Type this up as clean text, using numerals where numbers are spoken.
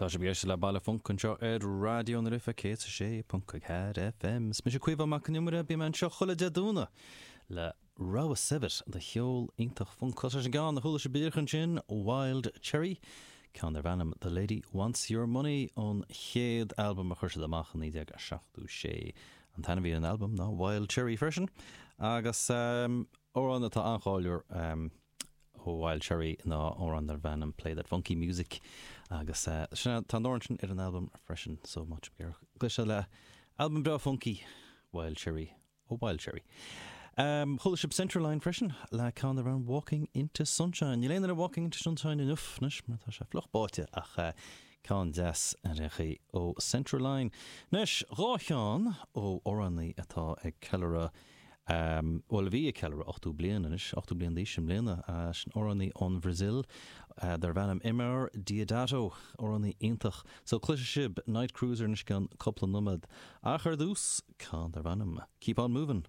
Tá sibh ag éisteacht le Baile Func anseo ar Raidió na Life 106.4 FM. Is mise Caoimhe Mac Con Iomaire, bím anseo chuile Dé Domhnaigh le rogha saibhir de cheol iontach func. Cloisfidh sibh an ceann a chuala sibh díreach ansin, Wild Cherry, ceann darb ainm The Lady Wants Your Money ón chéad albam a chuir siad amach i 1976. An t-ainm a bhí ar an albam ná Wild Cherry freisin agus amhrán atá an-cháiliúil ó Wild Cherry ná amhrán darb ainm Play That Funky Music agus sin tá an amhrán sin ar an albam freisin so má tá sibh ag iarraidh cloisteáil le albam breá funky Wild Cherry ó Wild Cherry. Chuala sibh Centerline freisin le ceann darb ainm Walking Into Sunshine. Níl aon duine Walking Into Sunshine inniu anois mar tá sé fliuch báite ach ceann deas ar aon chaoi ó Centerline. Anois, 2 cheann ó amhránaí atá ag ceiliúradh bhuel, a bhí ag ceiliúradh 80 bliain anois, 80 bliain d'aois i mbliana, sin amhránaí ón Bhrasaíl darb ainm Eumir Deodato, amhránaí iontach. So cloisfidh sibh Night Cruiser anois i gceann cúpla nóiméad. Ach ar dtús, ceann darb ainm Keep On Movin'.